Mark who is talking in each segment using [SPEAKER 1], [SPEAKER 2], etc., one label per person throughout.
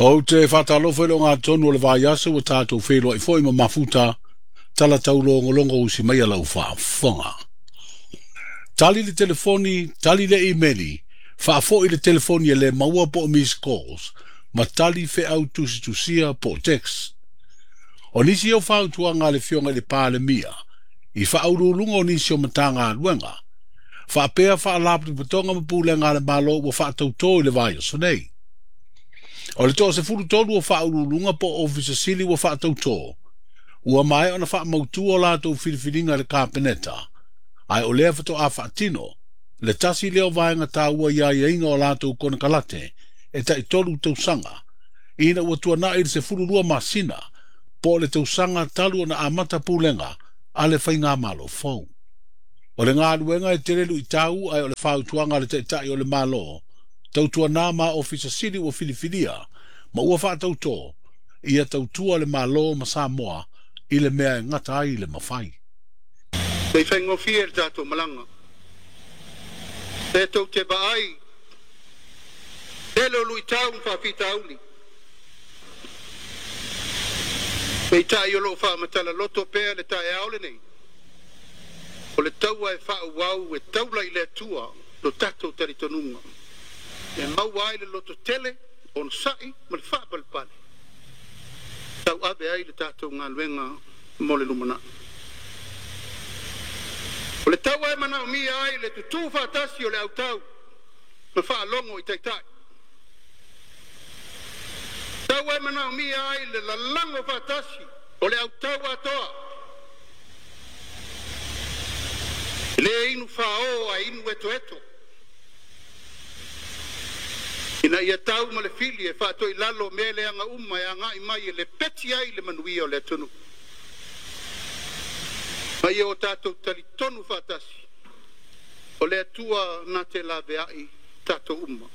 [SPEAKER 1] Ou te faatalofa i le ogatotonu o le vaiaso ua tatou feiloai foi ma mafuta tala taulogologo usi mai a lau faafofoga. Tali le telefoni, tali le imeli, faafoi le telefoni e le maua po o missed calls, ma tali feau tusitusia po o text. O nisi o fautuaga a le Afioga i le Palemia i faauluuluga o nisi o Matagaluega, faapea faalapotopotoga ma pulega a le Malo ua faatautō i le vaiaso nei. O le 13 o faauluuluga po o Ofisa Sili ua faatautō, ua maea ona faamautu o latou filifiliga i le Kapeneta, ae o lea faatoa faatino le tasi lea o vaega taua i aiaiga o latou konekarate e tai 3 tausaga, ina ua tuanai le 12 masina po o le tausaga talu ona amata pulega a le faigamalo fou. O le galuega e tele luitau ae o le fautuaga a le Taitai o le Malo, tautuana ma Ofisa Sili ua filifilia ma ua faatautō, ia tautua le Malo ma Samoa i le mea e gata ai le mafai.
[SPEAKER 2] Le i faigofie le tatou malaga. E tou te vaai, tele o luitau ma faafitauli. Peitai o loo faamatala loto pea le taeao lenei. O le taua e faaauau e taula i le Atua lo tatou talitonuga. E maua ai le loto tele, onosai ma le faapalepale. Tauave ai le tatou galuega mo le lumanai. O le taua e manaomia ai le tutu faatasi o le autau ma faalogo i taitai. Taua e manaomia ai le lalago faatasi o le autau atoa. E le inu fao ae inu etoeto. Ina ia tau ma le fili e faatoilalo mea leaga uma e agai mai e lepeti ai le manuia o le atunuu. Ma ia o tatou talitonu faatasi, o le Atua na te laveai tatou uma.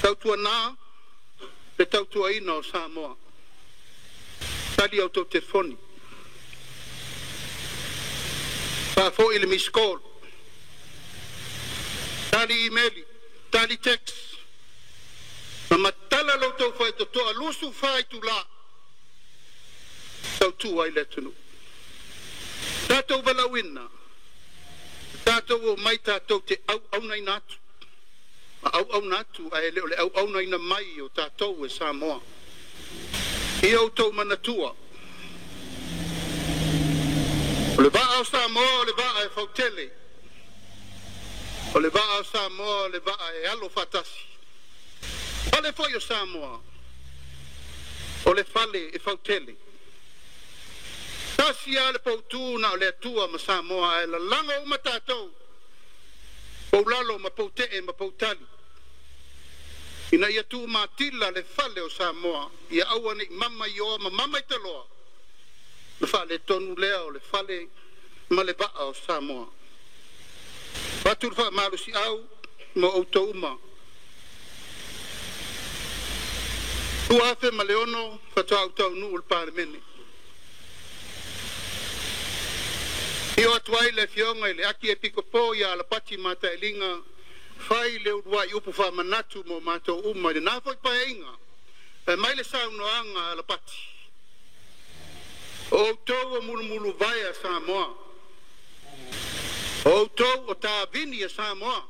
[SPEAKER 2] Tautuana le tautuaina o Samoa. Tali autou telefoni. Faafoi le missed call. Tali imeli, tali text. Ma matala lo outou faitotoa 24 itulā. Tautua ai le atunuu. Tatou valaauina, tatou omai tatou te auaunaina atu. Ma auauna atu ae le o le auaunaina mai o tatou e Samoa. Ia outou manatua, o le vaa o Samoa o le vaa e fautele. O le vaa o Samoa o le vaa e alo faatasi. Fale foi o Samoa, o le fale e fautele. Tasi lava le poutu na o le Atua ma Samoa ae lalago uma tatou, poulalo ma poutee ma poutali. Ina ia tumatila le fale o Samoa, ia aua ne i mama i oa ma mama i taloa, na faaletonu lea o le fale ma le vaa o Samoa. Avatu le faamalosiau ma outou uma. 2006 faatoa ou taunuu i le Palemene. Afio atu ai le Afioga i le Akiepikopo ia Alapati Matailiga, fai le uluai upu faamanatu mo matou uma i lena foi Paeaiga. Fai mai le saunoaga a Alapati, o outou o mulumuluvae a Samoa, o outou o tavini a Samoa,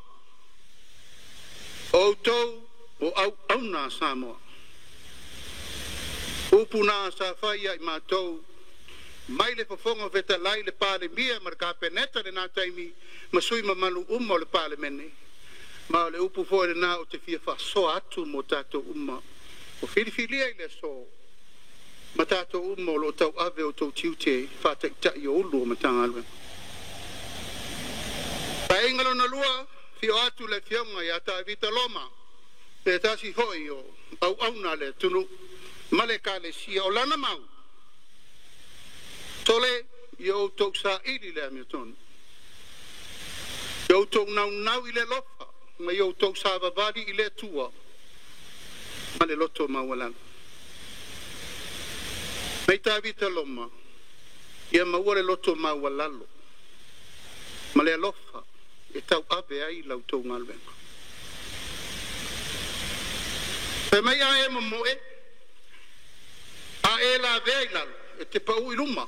[SPEAKER 2] o outou o auauna a Samoa. Upu na sa fai ia i matou mai le Fofoga Fetalai, le Palemia ma le Kapeneta i lena taimi ma sui mamalu uma o le Palemene. Ma o le upu foi lena ou te fia faasoa atu mo tatou uma o filifilia i le aso ma tatou uma o lo o tauave o outou tiute faataitai o Ulu o Matagaluega. Paeaiga lona lua, afio atu le Afioga ia Tavita Loma, se tasi foi o auauna a le atunuu ma le Ekalesia. O lana mau, sole, ia outou saili le amiotonu, ia outou naunau i le alofa ma ia outou savavali i le Atua ma le loto maualalo. Mai Tavita Loma, ia maua le loto maualalo ma le alofa e tauave ai la outou galuega. Fai mai a e momoe, a e lavea i lalo, e te pau i luma.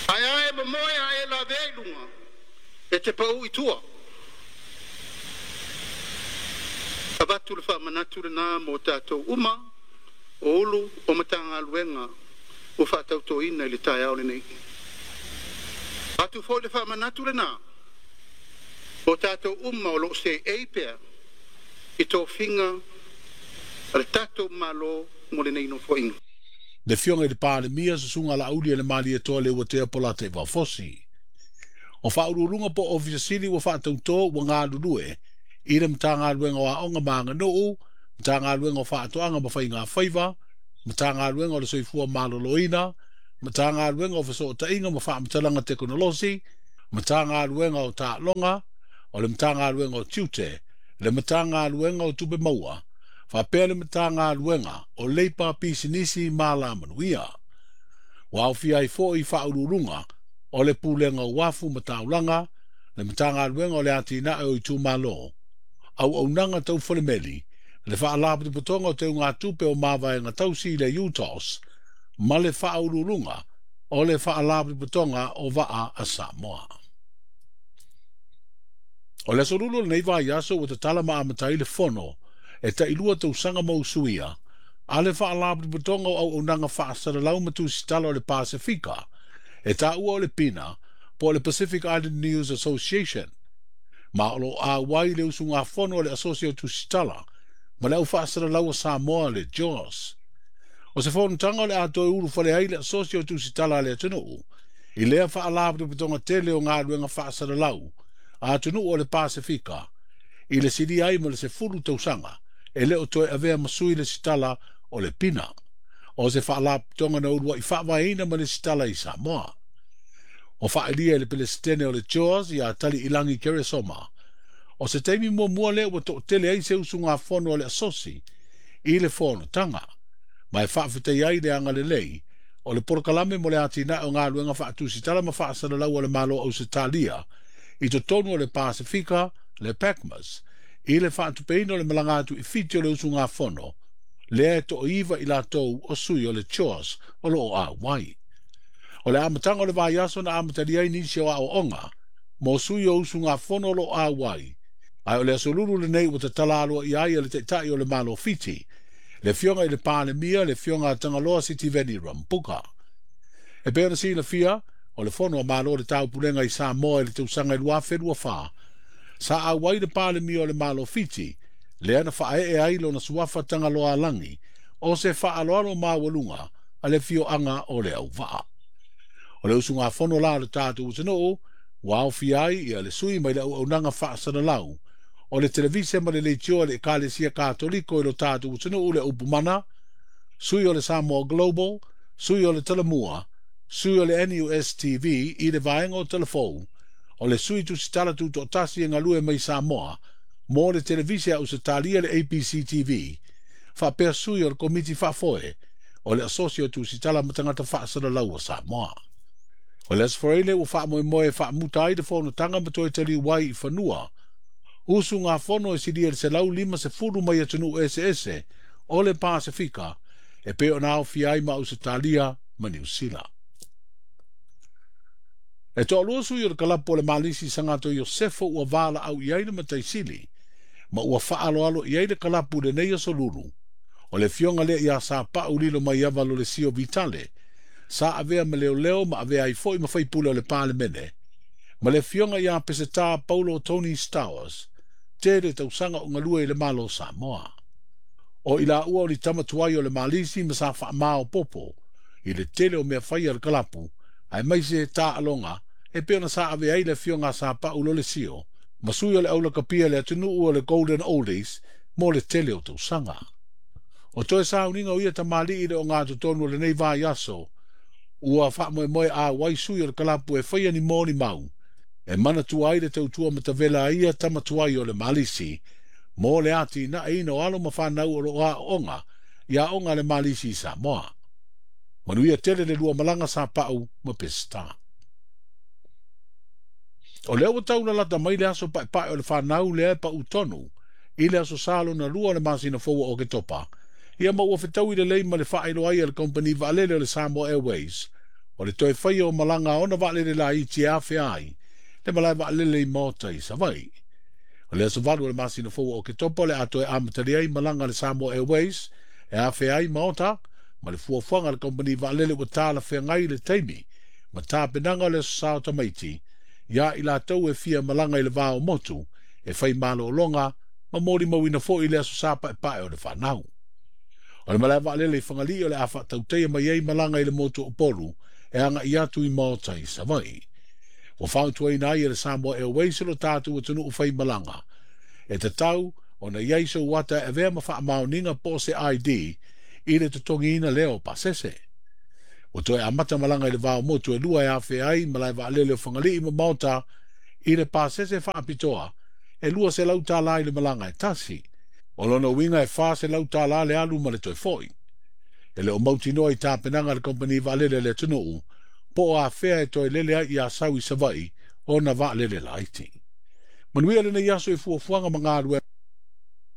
[SPEAKER 2] Ae a e momoe a e lavea i luga, e te pau i tua. Avatu le faamanatu lena mo tatou uma o Ulu o Matagaluega ua faatautoina i le taeao lenei. Atu foi le faamanatu lena o tatou uma o lo o seei pea i tofiga a le tatou Malo mo lenei Nofoaiga.
[SPEAKER 1] Le Afioga i le Palemia, Susuga Laaulialemalietoa Leuatea Polataivao Fosi. O faauluuluga po o Ofisa Sili ua faatautō ua galulue i le Matagaluega o Aoga ma Aganuu, Matagaluega o Faatoaga ma Faiga Faiva, Matagaluega o le Soifua Maloloina, Matagaluega o Fesootaiga ma Faamatalaga Tekonolosi, Matagaluega o Taaloga, o le Matagaluega o Tiute, le Matagaluega o Tupe Maua, faapea le Matagaluega o Leipa, Pisinisi ma Alamanuia. Ua aofia ai foi faauluuluga o le Pulega o Uafu ma Taulaga, le Matagaluega o le Atinae o Itumalo, Auaunaga Tau Falemeli, le Faalapotopotoga o Teugatupe o Mavaega Tausi i le UTOS, ma le Faauluuluga o le Faalapotopotoga o Vaa a Samoa. O le aso Lulu o lenei vaiaso ua tatala ma amata ai le fono e tailua tausaga ma usuia a le Faalapotopotoga o Auaunaga Faasalalau ma Tusitala o le Pasefika e taua o le PINA po o le Pacific Island News Association, ma o lo o auai le usugafono a le Asosi o Tusitala ma le Au Faasalalau a Samoa le JAWS. O se fonotaga o le a toe ulufale ai le Asosi o Tusitala a le atunuu i lea faalapotopotoga tele o galuega faasalalau a atunuu o le Pasefika i le silia ai ma le 10 tausaga e le o toe avea ma sui le sitala o le PINA, o se faalapotopotoga na uluai faavaeina ma le sitala i Samoa. O faailia i le Pelesitene o le JAWS ia Taliilagi Keresoma, o se taimi muamua lea ua toatele ai se usugafono a le Asosi i le fonotaga, ma e faafetai ai le agalelei o le polokalame mo le atinae o galuega faatusitala ma faasalalau a le Malo o Ausetalia i totonu o le Pasefika, le PACMAS, i le faatupeina o le malaga atu i Fiti o le usugafono, lea e toaiva i latou o sui o le JAWS o lo o auai. O le amataga o le vaiaso na amatalia ai nisi o aoaoga mo sui o usugafono o lo o auai, ae o le aso Lulu lenei ua tatala aloaia ai e le Taitai o le Malo Fiti, le Afioga i le Palemia, le Afioga a Tagaloa Sitiveni Rambuka. E pei ona silafia, o le fono a Malo o le Taupulega i Samoa i le tausaga 2024, sa auai le Palemia o le Malo Fiti, lea na faaee ai lona suafa Tagaloa Alagi, o se faaaloalo maualuga a le afioaga o le Auvaa. O le usugafono la o le tatou atunuu, ua aofia ai ia le sui mai le auaunaga faasalalau o le televise ma le leitio a le Ekalesia Katoliko i lo tatou atunuu le Upumana, sui o le Samoa Global, sui o le Talamua, sui o le NUS TV i le vaega o Talafou, o le sui tusitala tutoatasi e galue mai Samoa mo le televise a Ausetalia le ABC TV, faapea sui o le Komiti Faafoe o le Asosi o Tusitala ma Tagata Faasalalau a Samoa. O le Aso Faraile ua faamoemoe e faamuta ai le fonotaga ma toe taliu ai i fanua usugafono e silia i le 150 mai atunuu eseese o le Pasefika e pei ona aofia ai ma Ausetalia ma Niu Sila. E toalua sui o le kalapu o le Malisi Sagato Iosefo ua valaau i ai le Mataisili ma ua faaaloalo i ai le kalapu i lenei aso Lulu. O le afioga lea ia Sapau Lilo mai Ava Lolesio Vitale, sa avea ma leoleo ma avea ai foi ma faipule o le Palemene, ma le afioga ia Peseta Paulo Tony Stowers, tele tausaga o galue i le Malo o Samoa. O i laua o ni tama tuai o le Malisi ma sa faamaopopo i le tele o mea faia le kalapu, aemaise taaloga e pei ona sa avea ai le afioga a Sapau Lolesio ma sui o le aulakapia le atunuu o le Golden Oldies mo le tele o tausaga. O toe sauniga o ia tamalii le ogatotonu o lenei vaiaso, ua faamoemoe auai sui o le kalapu e faia ni mo ni mau, e manatua ai le tautua matavela a ia tama tuai o le Malisi, mo le atinaeina o alo ma fanau o lo o aooga i aoga a le Malisi i Samoa. Manuia tele le lua malaga Sapau ma Peseta. O lea ua taulalata mai le aso paepae o le fanau lea e pau tonu i le Aso Sa lona lua o le masina fou o Oketopa, ia ma ua fetaui lelei ma le faailoa ai a le Kamupani Vaalele o le Samoa Airways o le toe faia o malaga a ona vaalele laiti e afea ai le malae vaalele i Maota i Savaii. O le aso 8 o le masina fou o Oketopa o le a toe amatalia ai malaga a le Samoa Airways e afea ai Maota ma le fuafuaga a le Kamupani Vaalele ua talafeagai le taimi ma tapenaga o le Aso Sa o Tamaiti ia i latou e fia malaga i le va o motu e fai malologa ma molimauina foi le Aso Sa paepae o le fanau. O le malae vaalele i Fagalii o le a faatautaia mai ai malaga i le motu o Upolu e agai atu i Maota i Savaii. Ua fautuaina ai e le Samoa Airways lo tatou atunuu faimalaga e tatau ona i ai sou ata e avea ma faamaoniga po o se ID i le totogiina lea o pasese. Ua toe amata malaga i le va o motu e lua e afea ai malae vaalele o Fagalii ma Maota i le pasese faapitoa e $200 i le malaga e tasi. O lona uiga e $400 le alu ma le toe foi. E le o mautinoa i tapenaga a le Kamupani Vaalele a le atunuu po o afea e toe lele ai i Asau i Savaii ona vaalele laiti. Manuia lenei aso i fuafuaga ma galuega.